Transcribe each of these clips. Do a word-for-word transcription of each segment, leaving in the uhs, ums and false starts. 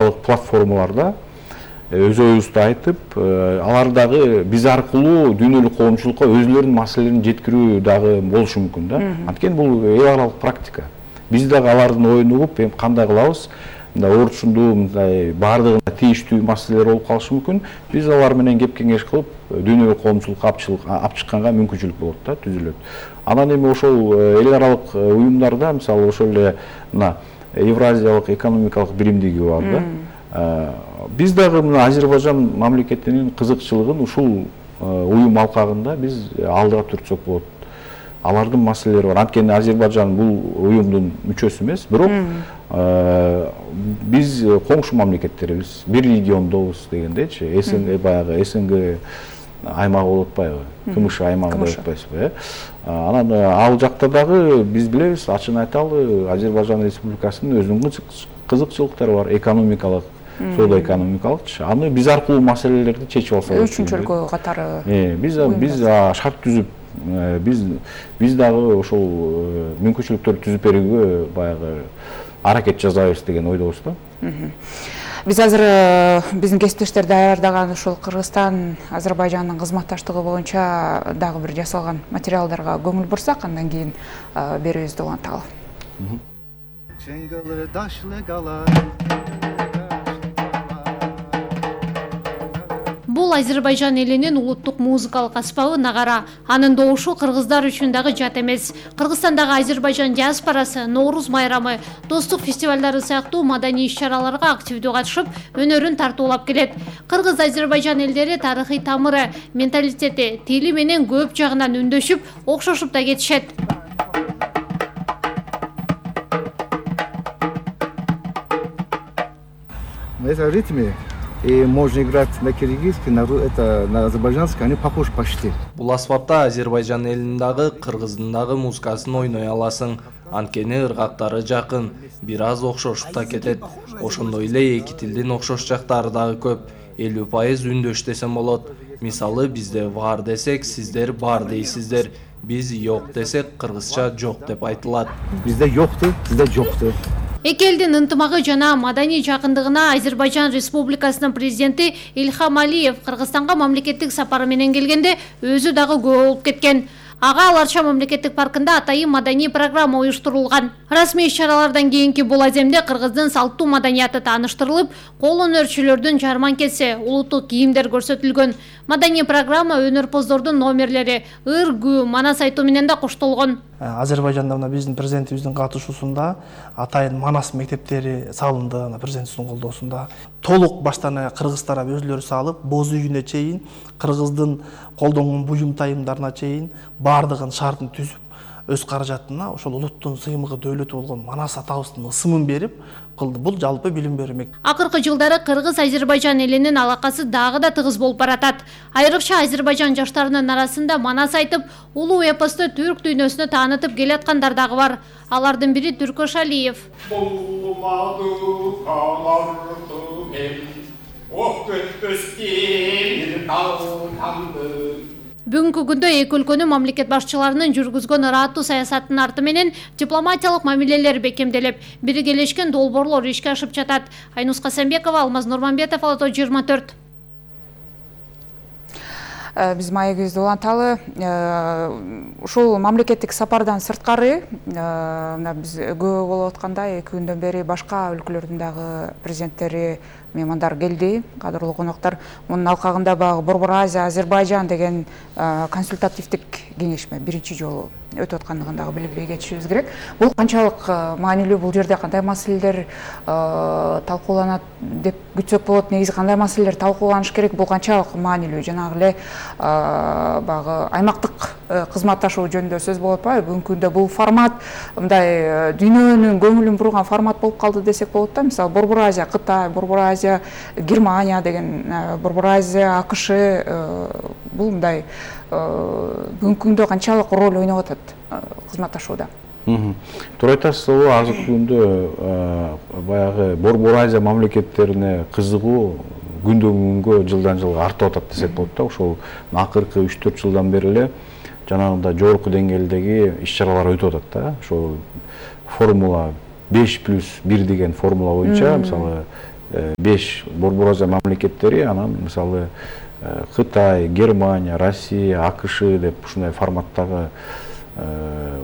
аралык платформаларда өз оюбузду айтып, алар дагы биз аркылуу дүйнөлүк коомчулукка өзлөрүнүн маселелерин жеткирүү дагы болушу мүмкүн да. Анткени бул эл аралык практика. Биз дагы алардын оюн угуп, эми кандай кылабыз, мындай орчундуу, мындай баардыгына тийиштүү маселелер болуп калышы мүмкүн. Биз алар менен кеп кеңеш кылып, дүйнөлүк коомчулукка алып чыкканга мүмкүнчүлүк болот да, түзүлөт. Анан эми ошол эл аралык уюмдарда, мисалы ошол эле мына Евразиялык экономикалык биримдиги бар да. Биз дагы мына Азербайжан мамлекетинин кызыкчылыгын ушул уюм алкагында биз алдыга түртсөк болот. Алардын маселелери бар. Анткени Азербайжан бул уюмдун мүчөсү эмес, бирок биз коңшу мамлекеттербиз, бир региондобуз дегендейчи. СНГ баягы СНГ аймагы болуп атпайбы? КМШ аймагы деп атпайсызбы, э? Анан ал жакта дагы биз билебиз, ачыгын айталы, Азербайжан Республикасынын өзүнүн кызыкчылыктары бар, экономикалык, соода экономикалыкчы. Аны биз аркылуу маселелерди чечип алсак. Үчүнчү өлкө катары. Э, биз биз шарт түзүп, биз биз дагы ошол мүмкүнчүлүктөрдү түзүп берүүгө баягы аракет жасайбыз деген ойдобуз да. Биз азыр биздин кесиптештер даярдаган ушул Кыргызстан, Азербайжандын кызматташтыгы боюнча дагы бир жасалган материалдарга көңүл бурсак, андан кийин берүүбүздү уланталы. Бул Азербайжан элинин улуттук музыкалык аспабы нагара. Анын добушу кыргыздар үчүн дагы жат эмес. Кыргызстандагы Азербайжан диаспорасы Нооруз майрамы, достук фестивалдары сыяктуу маданий иш-чараларга активдүү катышып, өнөрүн тартуулап келет. Кыргыз-Азербайжан элдери тарыхый тамыры, менталитети, тили менен көп жагынан үндөшүп, окшошуп да кетишет. В ритме и можно играть на киргизский, на, это, на азербайджанский, они похожи почти. Бул аспапта Азербайжан элинин дагы, Кыргыздын дагы музыкасын ойной аласың. Анткени ыргактары жакын, бир аз окшошуп да кетет. Ошондой эле эки тилдин окшош жактары дагы көп. элүү пайыз үндөш десем болот. Мисалы бизде бар десек, сиздер бар дейсиздер. Биз жок десек, кыргызча жок деп айтылат. Бизде жокту, сизде жокту. Эки элдин ынтымагы жана маданий жакындыгына Азербайжан Республикасынын президенти Ильхам Алиев Кыргызстанга мамлекеттик сапары менен келгенде өзү дагы көп болуп кеткен. Ага Аларча мамлекеттик паркында атайын маданий программа уюштурулган. Расмий иш-чаралардан кийинки бул аземде кыргыздын салттуу маданияты тааныштырылып, кол өнөрчүлөрдүн жарманкеси, улуттук кийимдер көрсөтүлгөн. Маданий программа өнөрпоздордун номерлери ыр, күү, манас айтуу менен да коштолгон. Азербайжанда мына биздин президентибиздин катышуусунда атайын манас мектептери салынды, президентибиздин колдоосунда. Толук баштан кыргыз тарап өзүлөрү салып, боз үйүнө чейин, кыргыздын колдонгон буюм тайымдарына чейин бардыгын шартын түзүп, өз каражатына ошол улуттун сыймыгы дөөлөтү болгон манас атабыздын ысымын берип кылды. Бул жалпы билим берүү мектеби. Акыркы жылдары Кыргыз-Азербайжан элинин алакасы дагы да тыгыз болуп баратат. Айрыкча Азербайжан жаштарынын арасында манас айтып, улуу эпосту түрк дүйнөсүнө таанытып келаткандар дагы бар. Алардын бири Түркөш Алиев. Бүгүнкү күндө эки өлкөнүн мамлекет башчыларынын жүргүзгөн ырааттуу саясатынын арты менен дипломатиялык мамилелер бекемделип, биргелешкен долбоорлор ишке ашып жатат. Айнус Касамбекова, Алмаз Нурманбетов, Ала-тоо жыйырма төрт. Биз маегибизди уланталы. Ушул мамлекеттик сапардан сырткары биз көп болуп аткандай эки күндөн бери башка өлкөлөрдүн дагы президенттери, меймандар келди, кадырлуу коноктор. Мунун алкагында баягы Борбор Азия, Азербайжан деген консультативдик кеңешме биринчи жолу өтүп аткандыгын дагы билбей кетишибиз керек. Бул канчалык маанилүү, бул жерде кандай маселелер талкууланат деп күтсөк болот? Негизи кандай маселелер талкууланыш керек? Бул канчалык маанилүү? Жанагы эле баягы аймактык кызматташуу жөнүндө сөз болуп атпайбы? Бүгүнкү күндө бул формат мындай дүйнөнүн көңүлүн бурган формат болуп калды десек болот да. Мисалы Борбор Азия, Кытай, Борбор Азия, Германия деген, Борбор Азия, АКШ бул мындай бүгүнкү күндө канчалык роль ойноп атат кызматташууда? Туура айтасыз, азыркы күндө баягы Борбор Азия мамлекеттерине кызыгуу күндөн күнгө, жылдан жылга артып атат десек болот да. Ошол акыркы үч төрт жылдан бери эле жанагындай жогорку деңгээлдеги иш-чаралар өтүп атат да. Ошол формула беш плюс бир деген формула боюнча, мисалы беш Борбор Азия мамлекеттери, анан мисалы Кытай, Германия, Россия, АКШ деп ушундай форматтагы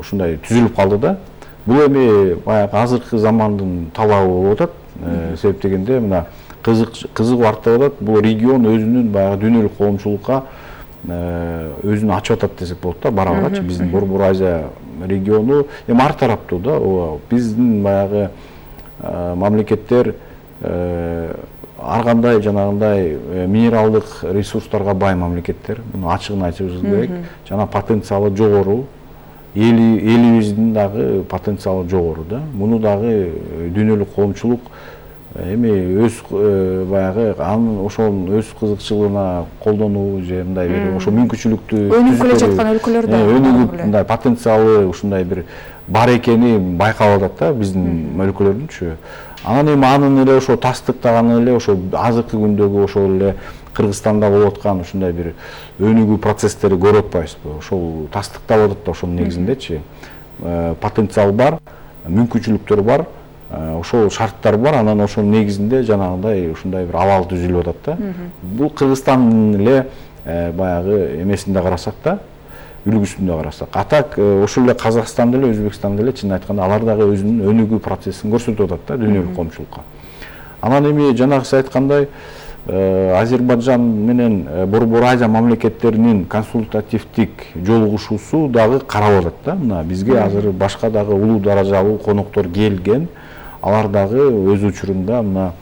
ушундай түзүлүп калды да. Бул эми баягы азыркы замандын талабы болуп атат. Себеп дегенде мына кызыгып артып атат. Бул регион өзүнүн баягы дүйнөлүк коомчулукка өзүн ачып атат десек болот да, бара барачы. Биздин Борбор Азия региону эми ар тараптуу да. Биздин баягы мамлекеттер ар кандай жанагындай минералдык ресурстарга бай мамлекеттер. Муну ачыгын айтышыбыз керек. Жана потенциалы жогору. Элибиздин дагы потенциалы жогору да. Муну дагы дүйнөлүк коомчулук эми өз баягы анын ошол өз кызыкчылыгына колдонуу же мындай бир ошо мүмкүнчүлүктү өнүгүп келе жаткан өлкөлөрдө өнүгүп мындай потенциалы ушундай бир бар экени байкалып атат да биздин өлкөлөрдүнчү. Анан эми анын эле ошо тастыктаганы эле ошо азыркы күндөгү ошол эле Кыргызстанда болуп аткан ушундай бир өнүгүү процесстери көрүп атпайбызбы? Ошол тастыктап атат да ошонун негизиндечи. Потенциал бар, мүмкүнчүлүктөр бар, ошол шарттар бар, анан ошонун негизинде жанагындай ушундай бир абал түзүлүп атат да. Бул Кыргызстандын эле баягы эмесинде карасак да, үлгүсүндө карасак. А так ошол эле Казакстан деле, Өзбекстан деле чын айтканда алар дагы өзүнүн өнүгүү процессин көрсөтүп атат да дүйнөлүк коомчулукка. Анан эми жанагы сиз айткандай Азербайжан менен Борбор Азия мамлекеттеринин консультативдик жолугушуусу дагы каралып атат да. Мына бизге азыр башка дагы улуу даражалуу коноктор келген. Алар дагы өз учурунда мына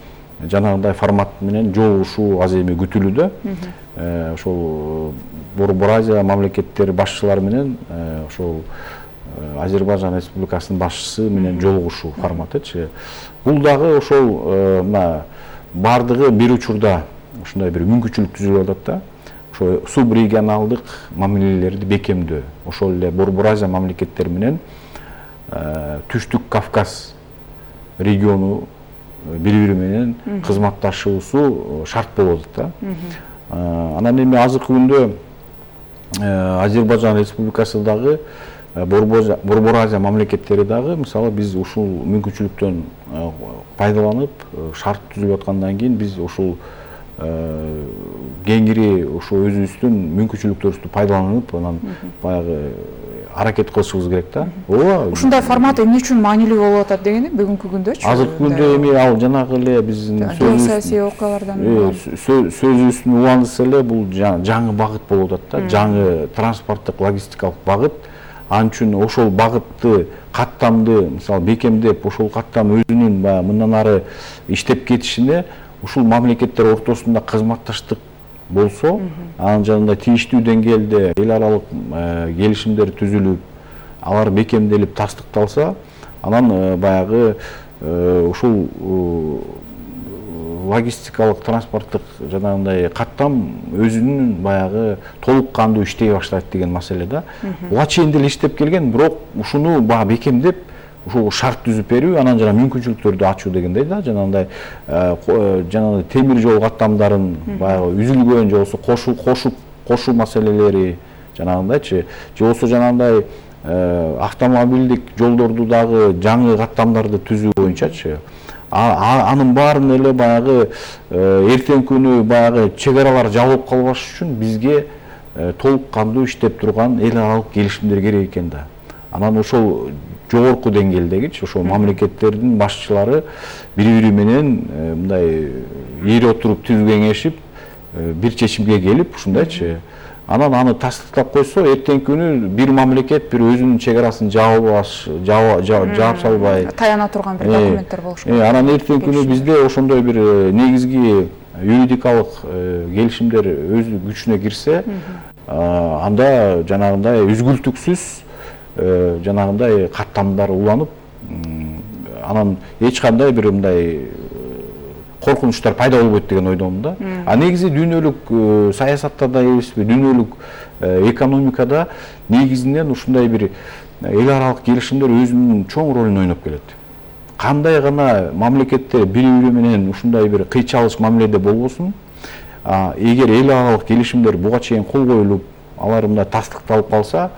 жанагындай формат менен жолугушуу аз эми күтүлүүдө. Ошол Борбор Азия мамлекеттери башчылары менен ошол Азербайжан Республикасынын башчысы менен жолугушуу форматычы. Бул дагы ошол мына бардыгы бир учурда ушундай бир мүмкүнчүлүк түзүлүп атат да. Ошо субрегионалдык мамилелерди бекемдөө. Ошол эле Борбор Азия мамлекеттери менен Түштүк Кавказ региону бири-бири менен кызматташуусу шарт болуп атат да. Анан эми азыркы күндө Азербайжан Республикасы дагы Борбор Азия мамлекеттери дагы мисалы биз ушул мүмкүнчүлүктөн пайдаланып шарт түзүлүп аткандан кийин биз ушул кеңири ошо өзүбүздүн мүмкүнчүлүктөрүбүздү пайдаланып анан баягы аракет кылышыбыз керек да. Ооба. Ушундай формат эмне үчүн маанилүү болуп атат дегени бүгүнкү күндөчү. Азыркы күндө эми ал жанагы эле биздин саясий окуялардан сөзүбүздүн уландысы эле бул жаңы багыт болуп атат да. Жаңы транспорттук логистикалык багыт. Ал үчүн ошол багытты каттамды мисалы бекемдеп, ошол каттам өзүнүн баягы мындан ары иштеп кетишине ушул мамлекеттер ортосунда кызматташтык болсо, анан жанагындай тийиштүү деңгээлде эл аралык келишимдер түзүлүп, алар бекемделип, тастыкталса, анан баягы ушул логистикалык транспорттук жанагындай каттам өзүнүн баягы толук кандуу иштей баштайт деген маселе да. Буга чейин деле иштеп келген, бирок ушуну баягы бекемдеп, ушул шарт түзүп берүү, анан жана мүмкүнчүлүктөрдү ачуу дегендей да, жанагындай жанагындай темир жол каттамдарын баягы үзүлгөн же болбосо кошуу кошуп кошуу маселелери жанагындайчы, же болбосо жанагындай автомобилдик жолдорду дагы жаңы каттамдарды түзүү боюнчачы. Анын баарын эле баягы эртең күнү баягы чек аралар жабылып калбаш үчүн бизге толук кандуу иштеп турган эл аралык келишимдер керек экен да. Анан ошол жогорку деңгээлдегичи ошол мамлекеттердин башчылары бири-бири менен мындай ээри отуруп түз кеңешип бир чечимге келип ушундайчы. Анан аны тастыктап койсо, эртең күнү бир мамлекет бир өзүнүн чек арасын жаап салбай таяна турган бир документтер болуш керек. Анан эртең күнү бизде ошондой бир негизги юридикалык келишимдер өз күчүнө кирсе, анда жанагындай үзгүлтүксүз жанагындай каттамдар уланып, анан эч кандай бир мындай коркунучтар пайда болбойт деген ойдомун да. А негизи дүйнөлүк саясатта да эмеспи, дүйнөлүк экономикада негизинен ушундай бир эл аралык келишимдер өзүнүн чоң ролун ойноп келет. Кандай гана мамлекеттер бири-бири менен ушундай бир кыйчалыш мамиледе болбосун, эгер эл аралык келишимдер буга чейин кол коюлуп, алар мындай тастыкталып калса,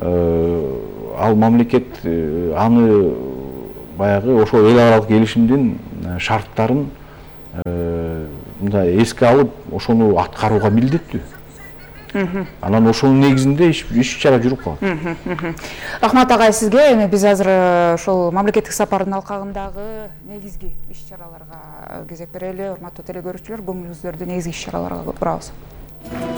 ал мамлекет аны баягы ошол эл аралык келишимдин шарттарын мындай эске алып ошону аткарууга милдеттүү. Анан ошонун негизинде иш чара жүрүп калат. Рахмат агай сизге. Эми биз азыр ошол мамлекеттик сапардын алкагындагы негизги иш чараларга кезек берели. Урматтуу телекөрүүчүлөр, көңүлүңүздөрдү негизги иш чараларга бурабыз.